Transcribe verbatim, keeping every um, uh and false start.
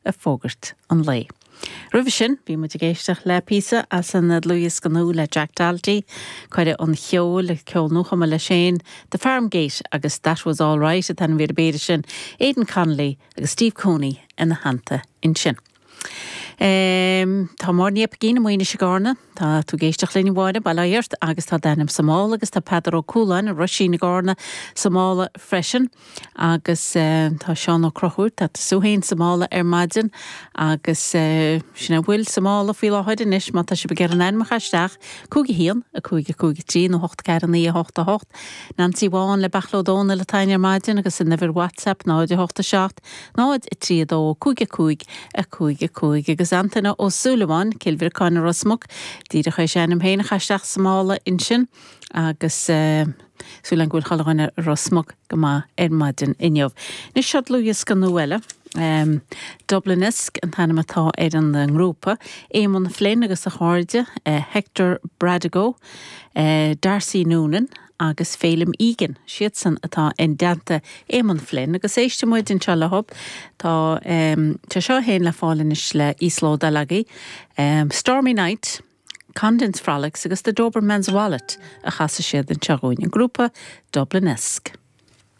ag fógairt an lae. Roimhe sin bhí muid ag éisteacht le píosa as an dlúthdhiosca nua le Jack Doherty, cuireadh an cheol ceol nuachumtha leis féin, The Farm Gate agus That Was All Right an t-ainm a bhí air sin, Aidan Connolly agus Steve Cooney ina theannta ansin. Um, tá Máire Ní Oipeigín i Maoinis i gCarna, Tá tú ag éisteacht linn Mháire Bailart agus tá d'ainm sa mála agus tá Peadar Ó Cualáin i Roisín i gCarna sa mála freisin agus uh, tá Seán Ó Conchúir tá tú féin sa mála ar maidin agus uh, sin a bhfuil sa mála faoi láthair anois má tá sibh ag iarraidh ainm a chur isteach cúig a haon a cúig a cúig trí nó hocht ceathair naoi a hocht a hocht. Nancy Bháin le Bealach Ó Dónaill atá ar maidin agus an uimhir WhatsApp náid a hocht a seacht, náid a trí dó cúig a cúig a cúig a cúig agus Antaine Ó Súilleabháin Cill Bhriocáin Ros Muc díreach é sin féin a chur isteach sa mála ansin agus uh, súil go bhfuil chuile dhuine Ros Muc go maith ar maidin inniu. Anois seo dlúthdhiosca nua eile. Um, Dublinesque an t-ainm atá ar an ngrúpa, Eamon Flynn agus a chairde, uh, Hector Bradigo, uh, Darcy Noonan agus Félim Egan siadsan atá in dteannta Eamon Flynn agus éistfidh muid anseo leo tá um, tá seo féin le fáil anois le íoslódáil agaibh um, Stormy Night, Condensed Frolics agus The Doberman's Wallet a chasfaidh siad anseo dúinn an grúpa Dublinesque.